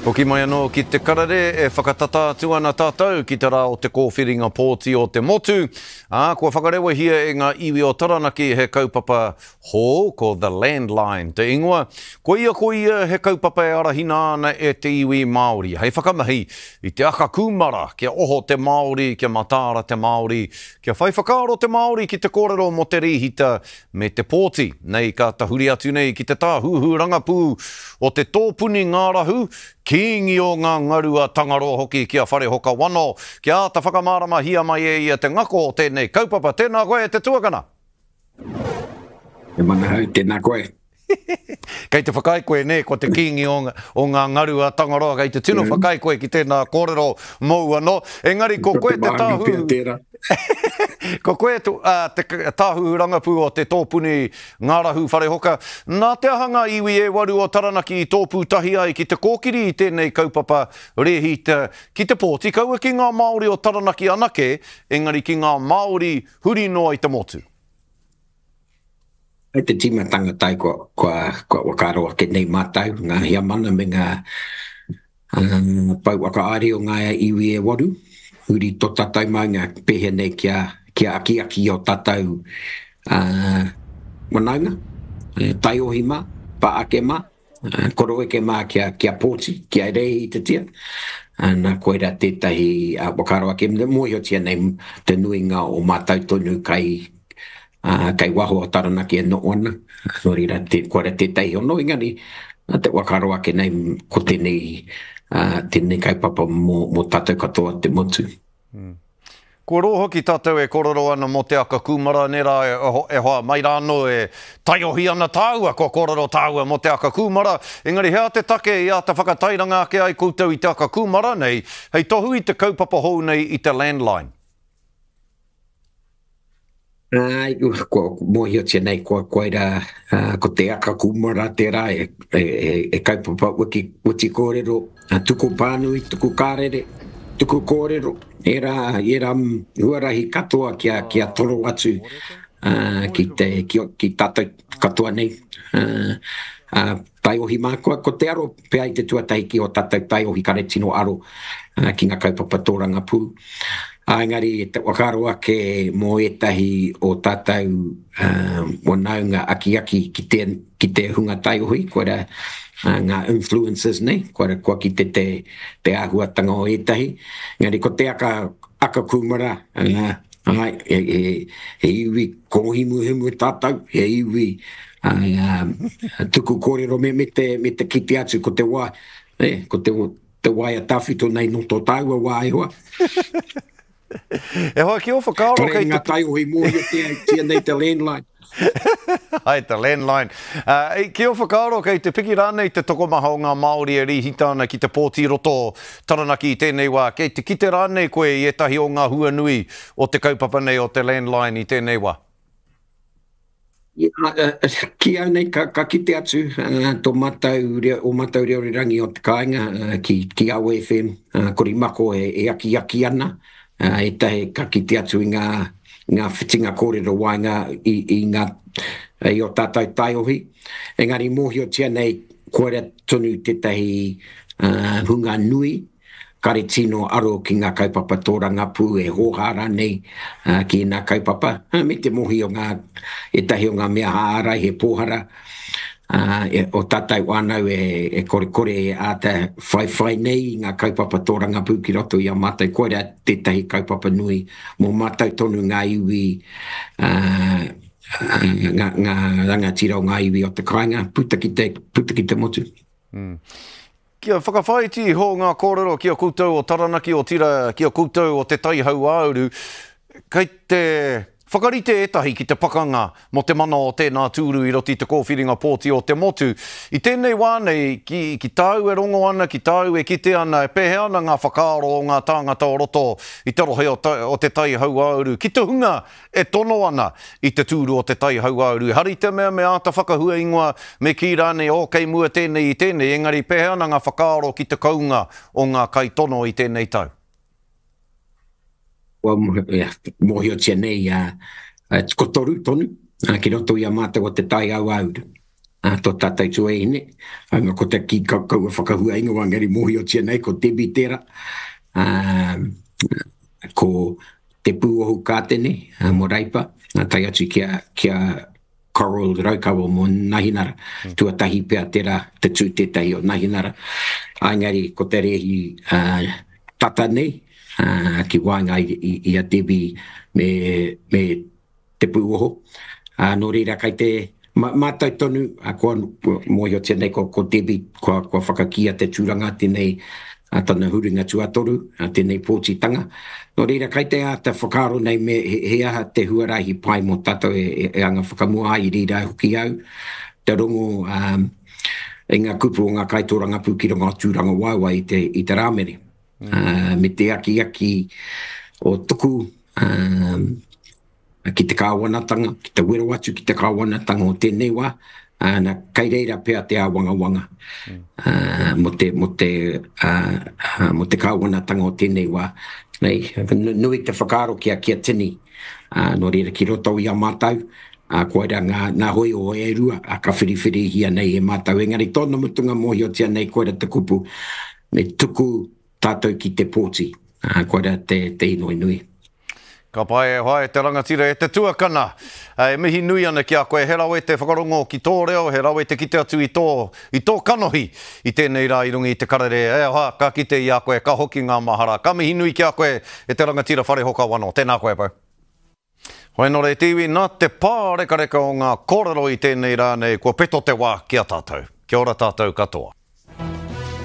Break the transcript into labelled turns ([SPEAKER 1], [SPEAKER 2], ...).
[SPEAKER 1] Hoki mai anō ki te karere e whakatata atu ana tātou ki te rā o te kōwhiringa pōti o te motu, ā, kua whakarewahia e ngā iwi o Taranaki he kaupapa hou, ko The Landline te ingoa. Koia ko ia he kaupapa e arahina ana e te iwi Māori hei whakamahi i te aka kūmara kia oho te Māori, kia mataara te Māori, kia whai whakaaro te Māori ki te kōrero mō te rīhita me te pōti. Nei ka tahuri atu nei ki te tāhuhu rangapū o te tōpuni ngārahu, kīngi o ngā ngaru a Tangaroa hoki ki a Wharehoka Wano, kia āta whakamāramahia mai e ia te ngako o tēnei kaupapa. Tēnā koe e te tuakana!
[SPEAKER 2] He manahau, tēnā koe.
[SPEAKER 1] Kei te whakaae koe, nē, ko te kīngi o, o ngā ngaru a Tangaroa, kei te tino whakaae koe ki tēnā kōrero mōu anō. Engari ko koe te tāhuhu... Ko koe te, uh, te tāhuhu rangapū o te tōpuni ngārahu wharehoka. Nā te aha ngā iwi e waru o Taranaki i tōpū tahi ai ki te kōkiri i tēnei kaupapa rēhita ki te pōti, kaua ki ngā Māori o Taranaki anake, engari ki ngā Māori huri noa i te motu?
[SPEAKER 2] Hei te tīmatanga tai kua, kua, kua whakaaro ake nei mātou, ngā heamana me ngā uh, pou whakaari o ngā iwi e waru, huri tō tātou maunga pēhea nei kia, kia akiaki o tātou uh, wanaunga, taiohi mā, pā ake mā, Koroeke mā kia, kia pōti, kia rēhitatia. Nā, koirā tētahi whakaaro ake, mōhiotia nei te nuinga o mātou tonu kai, kai waho o Taranaki e noho ana. Nō reira, te, koirā tētahi hono, engari, te whakaaro ake nei ko tēnei, tēnei kaupapa mō, mō tātou katoa te motu.
[SPEAKER 1] Mm. Kua roa hoki tātou e kōrero ana mō te aka kūmara, nē rā, e hoa, mai rā anō e taiohi ana tāua, kua kōrero tāua mō te aka kūmara, engari he aha te take i āta whakatairanga ake ai koutou i te aka kūmara nei, hei tohu i te kaupapa hou nei i te landline?
[SPEAKER 2] Āe, kua mōhiotia nei kua koirā, ko te aka kūmara tērā e, e, e, e kaupapa wiki, witi kōrero, tuku pānui, tuku kārere, tuku kōrero, ērā, ērā huarahi katoa kia, kia toro atu ki te, ki, ki tātou katoa nei. Taiohi mā, kua, ko te aro pea i te tuatahi ki ō tātou taiohi kare tino aro ki ngā kaupapa tōrangapū. Ā, engari te whakaaro ake mō ētahi o tātou whanaunga akiaki ki te, ki te hunga taiohi, koirā ngā influencers nei, koirā kua kite te, te āhuatanga o ētahi. Engari ko te aka, aka kūmara, āe, he, he, he iwi kōhimuhimu tātou, he iwi tuku kōrero me, me te, me te kite atu ko te wā, e, ko te, Te waea tawhito nei nō tō tāua wā e hoa.
[SPEAKER 1] E hoa, ki ō whakaaro
[SPEAKER 2] kei te... Kore ngā taiohi mōhiotia tia nei te landline.
[SPEAKER 1] Hai, te landline. Uh, ki ō whakaaro kei te piki rānei te tokomaha o ngā Māori e rīhita ana ki te pōti roto Taranaki i tēnei wā? Kei te kite rānei koe i ētahi o ngā hua nui o te kaupapa nei o te landline i tēnei wā?
[SPEAKER 2] Ki au nei, ka, ka kite atu tō mātou reo, o mātou reo rerangi o te kāinga ki, ki Awa FM, Korimako e, e akiaki ana, ētahi ka kite atu i ngā, ngā whitinga kōrero waenga i, i ngā, i o tātou taiohi. Engari mōhiotia nei, koira tonu tētahi hunga nui, Kare tino aro ki ngā kaupapa tōrangapū e hōhā rānei ki ēnā kaupapa, me te mohi o ngā, ētahi o ngā mea ārai he pōhara o tātou whānau e korekore e āta whaiwhai nei i ngā kaupapa tōrangapū ki roto i a mātou. Koirā tētahi kaupapa nui mō mātou tonu ngā iwi, ngā rangatira o ngā iwi o te kāinga, puta ki te, puta ki te motu.
[SPEAKER 1] Kia whakawhāiti iho ngā kōrero ki a koutou o Taranaki, otirā ki a koutou o Te Tai Hauāuru, kei te whakarite ētahi ki te pakanga mō te mana o tēnā tūru i roto i te kōwhiringa pōti o te motu. I tēnei wā nei, ki, ki tāu e rongo ana, ki tāu e kite ana, e pēhea ana ngā whakaaro o ngā tāngata o roto i te rohe o, o Te Tai Hauāuru, ki te hunga e tono ana i te tūru o Te Tai Hauāuru. Ehara i te mea me āta whakahua ingoa, me kī rānei, oh, kei mua tēnei i tēnei, engari pēhea ana ngā whakaaro ki te kounga o ngā kaitono i tēnei tau?
[SPEAKER 2] Kua mōhiotia nei ko toru tonu ki roto i a mātou o Te Tai Hauāuru. Tō tātou tuahine, haunga ko te kī kaua whakahua ingoa engari mōhiotia nei ko Debbie tērā, ko Te Pūohu Kātene mō Reipa, tae atu ki a, ki a Coral Raukawa mō Nahinara. Tuatahi pea tērā, te tū tētahi o Nahinara. Engari ko te rēhi tata nei ki waenga i, i a Debbie me, me te pūoho. Ā, nō reira, kei te mātau tonu, ā, kua mōhiotia nei ko, ko Debbie, kua, kua whakakīia te tūranga tēnei, ā, tana huringa tuatoru, ā, tēnei pōtitanga. Nō reira, kei te āta whakaaro nei me he, he aha te huarahi pai mō tātou e, e, e anga whakamua ai i reira hoki au, te rongo, ā, i ngā kupu o ngā kaitōrangapū ki runga o Tūrangawaewae i te, i te Rāmere. Ā, me te akiaki o tuku, ā, ki te kāwanatanga, ki te wero atu ki te kāwanatanga o tēnei wā, ā, na, kei reira pea te āwangawanga ā, mō te, mō te, ā, ā, mō te kāwanatanga o tēnei wā. Nei, nui te whakaaro ki a, ki a tini, ā, nō reira ki roto i a mātou, ā, koirā ngā, ngā hōiho e rua, ā, ka whiriwhirihia nei e mātou. Engari tōna mutunga mōhiotia nei koira te kupu, me tuku tātou ki te pōti, ā, koirā te, te inoi nui.
[SPEAKER 1] Ka pai e hoa e te rangatira e te tuakana. E mihi nui ana ki a koe, he rawe te whakarongo ki tō reo, he rawe te kite atu i tō, i tō kanohi i tēnei rā i runga i te karere. E hoa, ka kite i a koe, ka hoki ngā mahara. Ka mihi nui ki a koe e te rangatira Wharehoka Wano. Tēnā koe, bro. Hoenore e te iwi, nā te pārekareka o ngā kōrero i tēnei rā nei kua peto te wā ki a tātou. Kia ora tātou katoa.